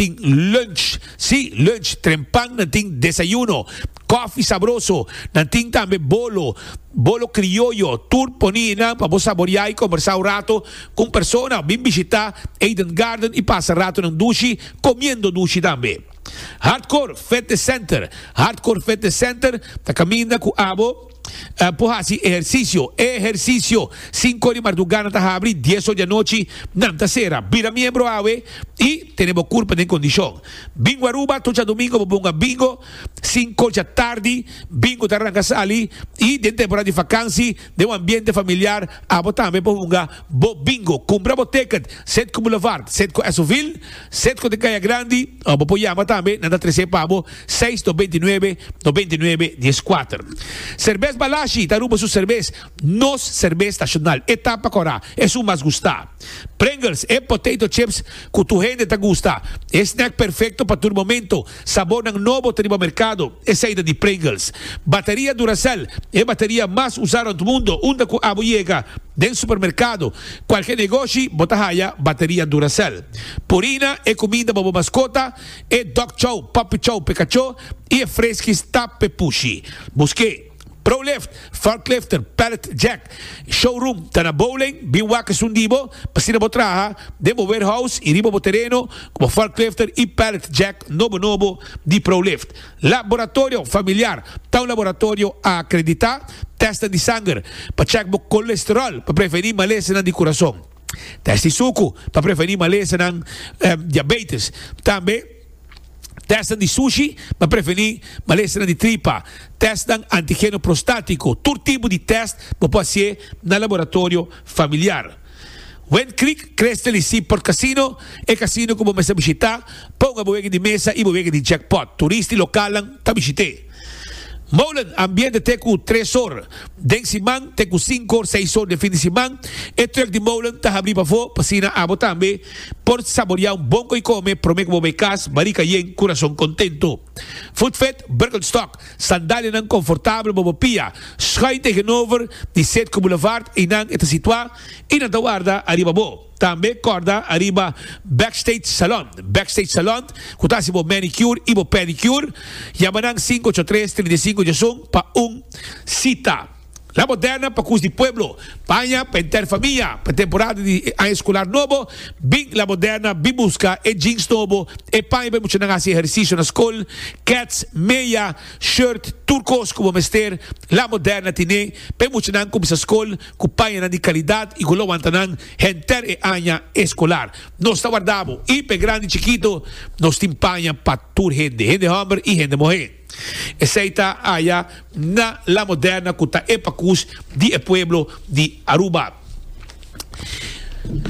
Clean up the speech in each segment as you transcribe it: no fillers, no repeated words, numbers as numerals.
tin lunch, sí, lunch, trempan nan tin desayuno, koffie sabroso, nan tin tambe bolo, bolo crioyo, tur poni nan pa bo saboria y combersa un rato cu un persona. Bin bishita Eden Garden y pasa ratonan dushi, comiendo dushi tambe. Hardcore Fitness Center, Hardcore Fitness Center ta caminda cu abo. Por hasi ehersisio, ehersisio. Sinku di mardugá nan ta habri, dies or di anochi nan ta sera. Bira miembro awe i tene bo kurpa den kondishon. Bingo Aruba, tur djadumingo bo bunga bingo, sinku djatardi bingo ta ranka sali i den temporada di fakansi den un ambiente familiar abo tambe por hunga bo bingo. Kumpra bo ticket, Setco Boulevard, Setco Esovil, Setco den Kaya Grandi o bo por yama tambe nan ta trese pa bo. Seis 99 99 dieskuater. Serbes Balashi ta Aruba su serbes, nos serbes nashonal. E tapa kòrá, esun mas gustá. Pringles, e potato chips ku tur hende ta gusta. E snack perfekto pa tur momento. Sabornan nobo ta riba merkado, esei ta di Pringles. Bateria Duracell, e bateria mas usá rònt mundo. Unda ku abo yega den supermerkado, kualke negoshi, bo ta haya bateria Duracell. Purina, e kuminda pa bo maskota. E dog chow, puppy chow p'e kachó i e freskis ta p'e pushi. Busk'é. Prolift, Forklifter, Pallet Jack, Showroom ta na Bowling, bin wak esun di bo pa asina bo traha den bo warehouse i riba bo tereno ku bo forklifter i pallet jack nobo nobo di Prolift. Laboratorio Familiar ta un laboratorio akreditá, tèstnan di sanger pa chèk bo kolesteròl pa prevení malesanan di kurason. Test di suku pa prevení malesanan diabetes. Tambe testnan di sushi pa prevení malesanan di tripa. Testnan antigeno prostátiko. Tur tipo di test bo por hasié na laboratorio familiar. Wind Creek, Crystal i Seaport Casino, e casino ku bo mester bishitá pa hunga bo wega di mesa i bo wega di jackpot. Turista i lokalnan ta bishit'é. Molen, ambiente te ku tres or den siman te ku sinku or, seis or den fin di siman. E truck di Molen ta habrí pafó pa asina abo tambe por saboriá un bon koi kome promé ku bo bai kas, barika yen, kurason kontento. Footfit, Birkenstock, sandalianan konfortabel pa bo pia, schuin tegenover di Citgo Boulevard, einan e ta situá i nan ta warda ariba bo. Tambe kòrda ariba Backstage Salon. Backstage Salon ku ta hasi bo manicure i bo pedicure. Yama nan sinku ocho tres, 35 diesun pa un sita. La Moderna pa kus di pueblo. Paña pa henter famia. Pa temporada di aña eskolar nobo, bin La Moderna bin buska e jeans nobo, e paña pa e muchanan hasi ehersisio na skol, kèts, meya, shirt, tur kos ku bo mester, La Moderna tine pa e muchanan kuminsá skol ku pañanan di kalidat i ku lo wanta nan henter e aña eskolar. Nos ta warda bo i p'e grandi chikito nos tin paña pa tur hende, hende hòmber i hende muhé. Esei ta aya na La Moderna ku ta e pakus di e pueblo di Aruba.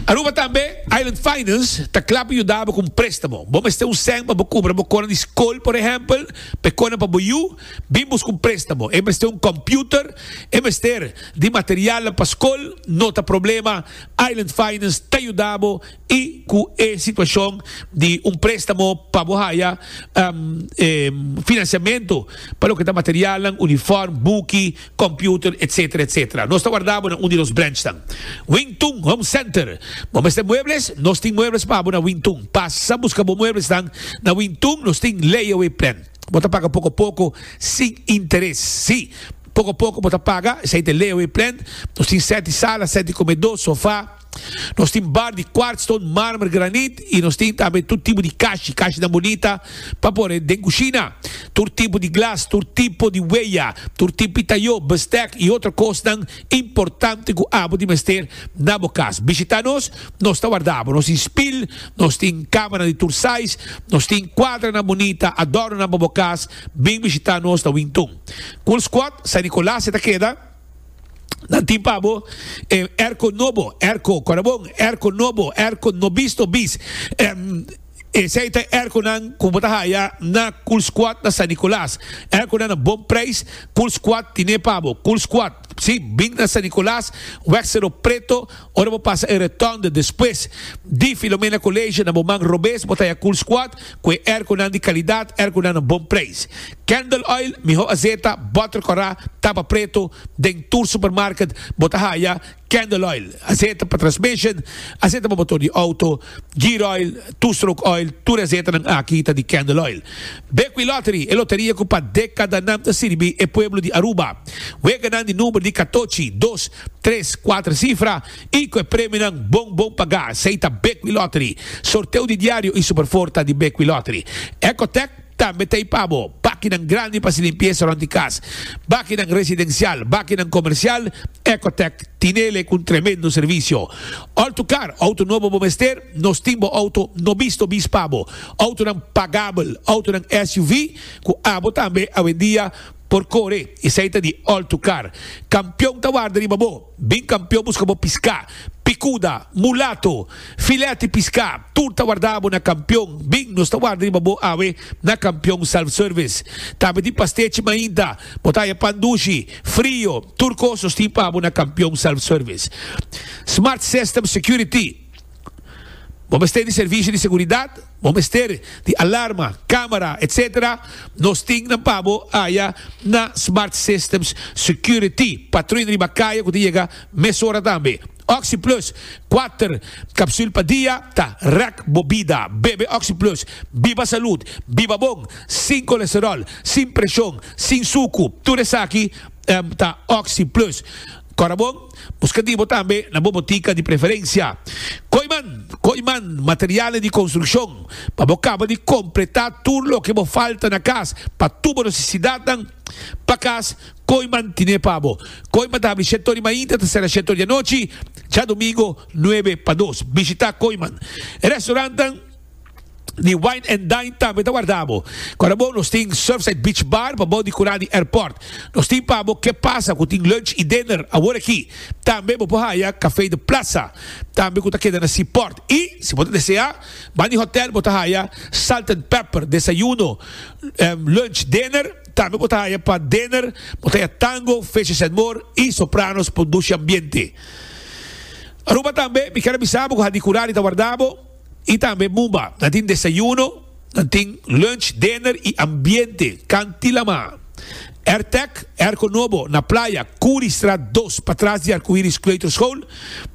Aruba tambe, Island Finance ta kla pa yuda bo ku un préstamo. Bo mester un sèn pa bo kumpra bo kona di skol, por ehèmpel, pa e kona pa bo yu. Bin buska un préstamo. E mester un kòmpiuter, e mester di materialnan pa skol, no ta problema. Island Finance ta yuda bo i ku e situashon di un préstamo pa bo haya finansiamentu pa loke ta materialnan, uniform, buki, kòmpiuter, etsetera, etsetera. Nos ta warda bo na un di nos branchnan. Wingtun Home Center. Bo mester muebles? Nos tin muebles pa bo na Wingtun. Pasa buska bo mueblesnan na Wingtun. Nos tin layaway plan. Bo ta paga poko poko sin interes. Sí, poko poko bo ta paga. Esei ta e layaway plan. Nos tin sèt di sala, sèt di komedó, sofá. Nos tin bar di kwartstone, marmer, granit i nos tin tambe tur tipo di kashi, kashinan bunita pa pone den kushina. Tur tipo di glas, tur tipo di weya, tur tipo di tayó, bestèk i otro kosnan importante ku abo tin mester na bo kas. Bishitá nos, nos ta warda bo. Nos tin spil, nos tin kamanan di tur size, nos tin kuadranan bunita, adòrnonan pa bo kas. Bin bishitá nos na Wintun. Cool Squad, San Nicolas e ta keda. Nan tin pa bo e airco nobo, airco, kòrda bon, airco nobo, airco no bisto bis. Esei ta e airconan ku bo ta haya na Cool Squad na San Nicolas. Airconan na bon prijs, Cool Squad tine pa bo. Cool Squad, si, bin na San Nicolas, weg Cerro Preto, ora bo pasa e rotonde despues di Filomena College na bo man robes bo ta haya Cool Squad ku e airconan di kalidat, airconan na bon prijs. Candle oil, miho azeta, boter kòrá, tapa preto, den tur supermarket bo ta haya. Candle oil, azeta pa transmission, azeta pa motor di auto, gear oil, two stroke oil, tur e azetanan aki ta di Candle oil. Bequi Lottery, e loteria cu pa decadanan ta sirbi e pueblo di Aruba. Weganan di number di catochi, dos, tres, cuater cifra y cu e premionan bon bon paga. Esey ta Bequi Lottery. Sorteo di diario y Superfour ta di Bequi Lottery. Ecotec. Tambe ta ei pa bo bakinan grandi pa hasi limpiesa rònt di kas, bakinan residensial, bakinan komersial, Ecotec tinele ku un tremendo servisio. Auto car, outo nobo bo mester? Nos tin bo outo no bisto bis pa bo. Outonan pagabel, outonan SUV ku abo tambe awendia por kore. Esei ta di Auto Car. Kampion ta warda riba bo. Bin kampion buska bo piská, pikuda, mulato, filet di piská, tur ta warda bo na kampion. Bin, nos ta warda riba bo awe na Kampion Self Service. Tambe tin pastechi mainta, bo ta haya pan dushi, frio, tur kos nos tin pa bo na Kampion Self Service. Smart System Security. Bo mester di servisio di seguridat? Bo mester di alarma, camera, etc. Nos tin nan pa bo aya na Smart Systems Security. Patruya riba caya cu ta yega mesora tambe. Oxi Plus, kuater capsul pa dia ta rek bo bida. Bebe Oxi Plus, biba salud, biba bon, sin colesterol, sin presion, sin sucu. Tur esaki ta Oxi Plus. Cora bon. Buska di bo tambe na bo botika di preferensia. Kooiman, Kooiman, materialnan di konstrukshon pa bo kaba di kompletá tur loke bo falta na kas pa tur bo nesesidatnan pa kas, Kooiman tine pa bo. Kooiman ta habri shete or di mainta ta sera shete or di anochi, djadumingo nuebe pa dos. Bishitá Kooiman. E restaurantnan. Di Wine and Dine tambe ta warda bo. Kora bo nos tin Surfside Beach Bar pa bo di kura di airport. Nos tin pa bo Ke Pasa ku tin lunch i dinner awor aki. Tambe bo por haya Café de Plaza tambe ku ta keda na Seaport. I si bo ta desea ban di hotel bo ta haya Salt and Pepper desayuno, lunch, dinner. Tambe bo ta haya pa dinner bo ta haya Tango, Fishes and More i Sopranos pa un dushi ambiente. Aruba tambe mi kier a bisa bo ku Hadikurari ta warda bo. I tambe Mumba. Nan tin desayuno, nan tin lunch, dinner i ambiente. Kanti Lama. Airtec, airco nobo na playa, Curiestraat dos, patras di Arcoiris Kleuterschool.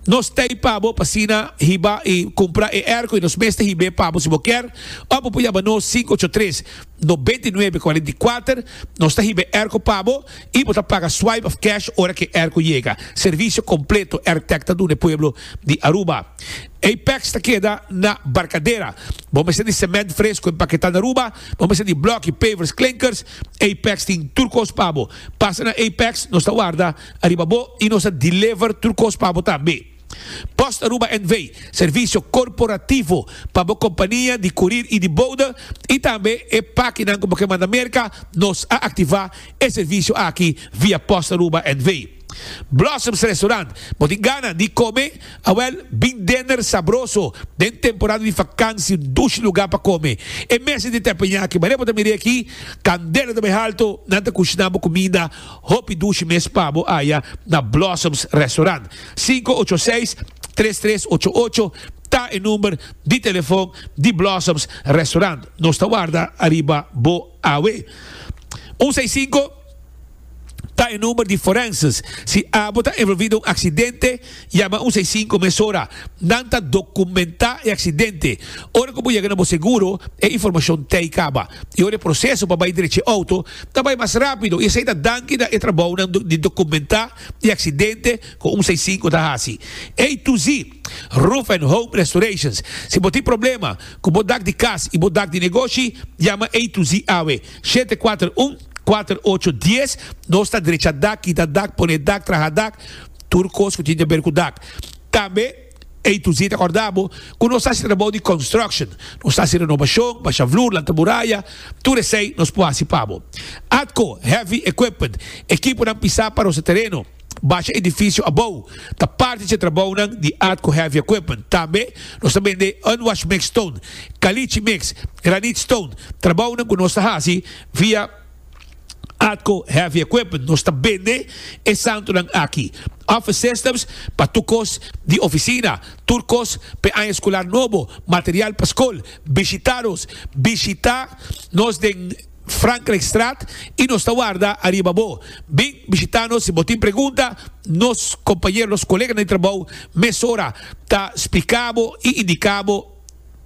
Nos ta ei pa bo pa asina hiba i cumpra e airco i nos mes ta hib'é pa bo si bo kier. Of bo por yama nos 583 99 44. Nos ta hiba e airco pa bo i bo ta paga swipe of cash ora cu e airco yega. Servicio completo Airtec ta duna e pueblo di Aruba. Apex ta keda na Barcadera. Bo mester di cement fresco empaketá na Aruba, bo mester di bloki, pavers, klinkers, Apex tin tur kos pa bo. Pasa na Apex, nos ta warda ariba bo i nos ta deliver tur kos pa bo tambe. Post Aruba NV, servisio korporativo pa bo kompania di kurir i di bode i tambe e pakinan ku bo ke manda Merka, nos a aktivá e servisio aki via Post Aruba NV. Blossoms Restaurant, Bo tin gana di kome? Awel, bin dinner sabroso den temporada di fakansi, un dushi lugá pa kome. E mesa di teppanyaki, manera bo ta mira aki, kandela ta bai halto, nan ta kushiná bo kuminda hopi dushi mes pa bo aya na Blossoms Restaurant. Sinku ocho seis, tres tres ocho ocho ta e number di telefon di Blossoms Restaurant. Nos ta warda ariba bo awe. Un seis sinku. Ta e number di forenses. Si abo ta envolvi den un accidente, yama un seis sinku mesora. Nan ta documenta e accidente. Ora cu bo yega na bo seguro, e informacion t'ey caba. Y ora e proceso pa bay drecha e auto ta bay mas rapido. Y esey ta danki na e trabounan di documenta e accidente cu un seis sinku ta haci. A to Z Roof and Home Restorations. Si bo tin problema cu bo dak di cas y bo dak di negoshi, yama A to Z awe. Shete kuater un, kuater ocho, dies, Nos ta drecha dak, kita dak, pone dak, traha dak, tur kos ku tin di aber ku dak. Tambe A to Z ta kòrda bo ku nos ta hasi trabou di construction. Nos ta hasi renobashon, basha vloer, lanta muraya, tur esei nos por hasi pa bo. Atco Heavy Equipment, ekiponan pisá pa rosa tereno. Basha edifisio abou ta parti dje trabounan di Atco Heavy Equipment. Tambe nos ta bende unwash mix stone, caliche mix, granite stone, trabounan ku nos ta hasi via Atco Heavy Equipment. Nos ta bende e santunan aki. Office systems pa tur kos di ofisina, tur kos p'e aña eskolar nobo, material pa skol. Bishita nos. Bishita nos den. Frankrijkstraat y nos ta warda ariba bo. Bin bishita nos si bo tin pregunta, nos compañero, nos coleganan di trabou mesora ta splica bo y indica bo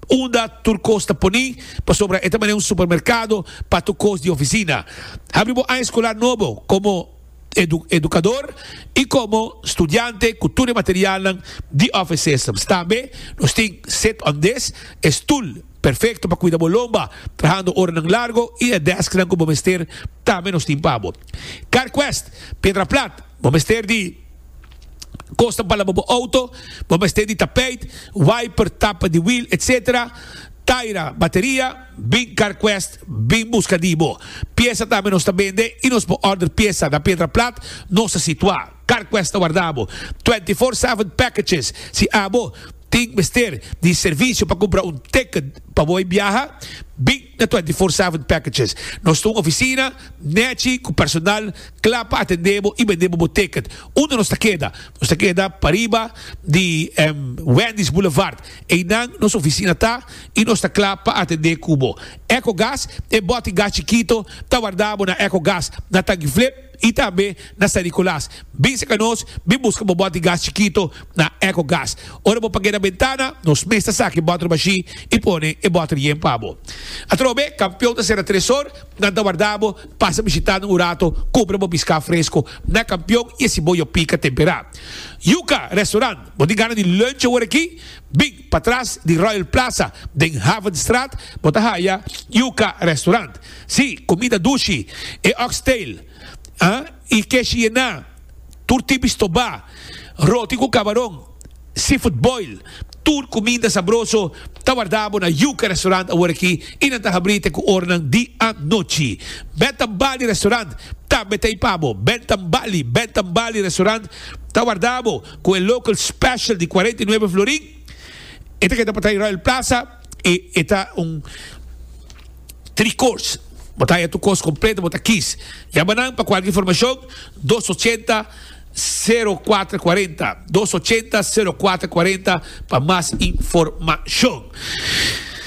unda tur cos ta poni pasobra e ta manera un supermercado pa tur cos di oficina. Habri bo aña escolar nobo como educador y como studiante cu tur e materialnan di Office Systems. Tambe nos tin sit on this, e stoel perfecto pa cuida bo lomba trahando oranan largo y e desknan cu bo mester tambe nos tin pa bo. CarQuest, Piedra Plat, bo mester di cosnan pa laba bo auto, bo mester di tapijt, wiper, tapa di wiel etc. Taira, bateria. Bin CarQuest, bin busca di bo. Pieza tambe nos ta bende y nos por order pieza na Piedra Plat, nos ta situa. CarQuest ta warda bo. 24/7 packages, si abo tin mester di servicio pa cumpra un ticket pa bo biaha, bin na 24/7 packages. Nos ta un oficina nechi cu personal cla pa atende bo y bende bo bo ticket. Unda nos ta keda? Nos ta keda pariba di Wendy's Boulevard. Einan nos oficina ta y nos ta cla pa atende cu bo. Ecogas, e boti gas chikito ta warda bo na Ecogas na Tanguiflip y tambe na San Nicolas. Bin cerca nos, bin busca bo boti gas chikito na Ecogas. Ora bo pag'e na bentana, nos mes ta saca e boter bashi y pone e boter yen pa bo. Atrobe, Campeon ta cera tres or, nan ta warda bo, pasa bishita nan un rato, cumpra bo pisca fresco na Campeon y e siboyo pica tempera. Yuca Restaurant. Bo tin gana di lunch awor aki? Bin patras di Royal Plaza den Havenstraat bo ta haya Yuca Restaurant. Sí, comida dushi, e oxtail, ah, y keshi yená, tur tipo stobá, roti cu cabaron, seafood boil, tur cuminda sabroso ta warda bo na Yuca Restaurant awor aki y nan ta habri te cu oranan di anochi. Bentham Bali Restaurant tambe ta ei pa bo. Bentham Bali, Bentham Bali Restaurant ta warda bo. Cu e local special di 49 florin, e ta keda patay Royal Plaza y e ta un three course. Bo ta haya tur cos completo, bo ta kies. Yama nan pa cualkier informacion, dos ochenta, sero cuatro cuarenta, dos ochenta, sero cuatro cuarenta pa mas informacion.